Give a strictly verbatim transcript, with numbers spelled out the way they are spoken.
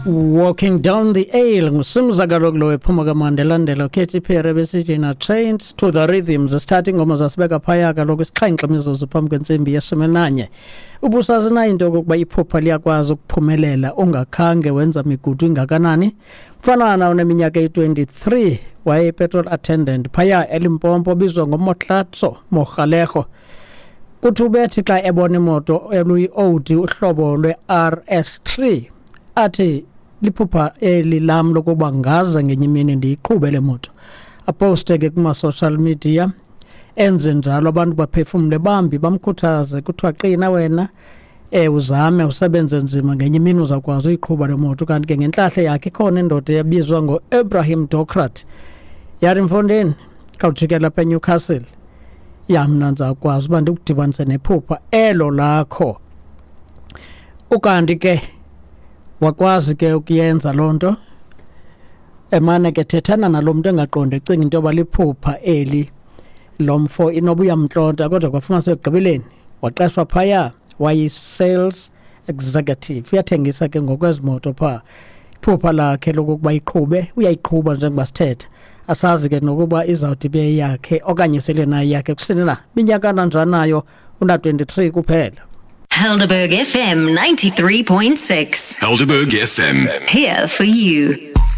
Walking Down the Aisle nguSimza kaloku lo ephuma kaMandela Katy Perry besithi na Chained to the Rhythm. Zisithatha ingoma zasibeka phaya kaloku isixhenxe imizuzu phambi kwentsimbi yeshumi nanye. Ubusazi na into yokokuba iphupha liyakwazi ukuphumelela ungakhange wenza migudu ingakanani? Mfanana oneminyaka eyi-twenty-three waye-petrol attendant phaya eLimpopo obizwa ngoMotlatso Mogaleho. Kuthi ubethi xa ebona imoto eluyi-Audi uhlobo lwe-R S three athi liphupha eli lam lokuba ngaze ngenye imini ndiyiqhube le moto. Aposte ke kuma-social media, enze njalo abantu baphefumle bambi bamkhuthaze, kuthiwa qina wena, eh, uzame usebenze nzima ngenye imini uzawukwazi uyiqhuba le moto. Kanti ke ngentlahla yakhe ikhona indoda eyabizwa ngo-Ibrahim Dokrat, yathi mfondini khawujikela apha eNewcastle, ya mna ndizawukwazi uba ndikudibanise nephupha elo lakho. Ukanti ke wakwazi ke ukuyenza loo nto, emane ke thethana nalo mntu engaqondi, ecinga into yoba liphupha eli lo mfo inoba uyamntlonta, kodwa kwafumanisa ekugqibeleni waqeshwa phaya, wayi-sales executive, uyathengisa ke ngokwezi moto phaa. Iphupha lakhe lokokuba iqhube, uyayiqhuba njengoba sithetha. Asazi ke nokuba izawuthi ibe yakhe okanye sele nayo yakhe kusini na. Minyaka nanjanayo, una twenty-three kuphela. Helderberg F M ninety-three point six. Helderberg F M. Here for you.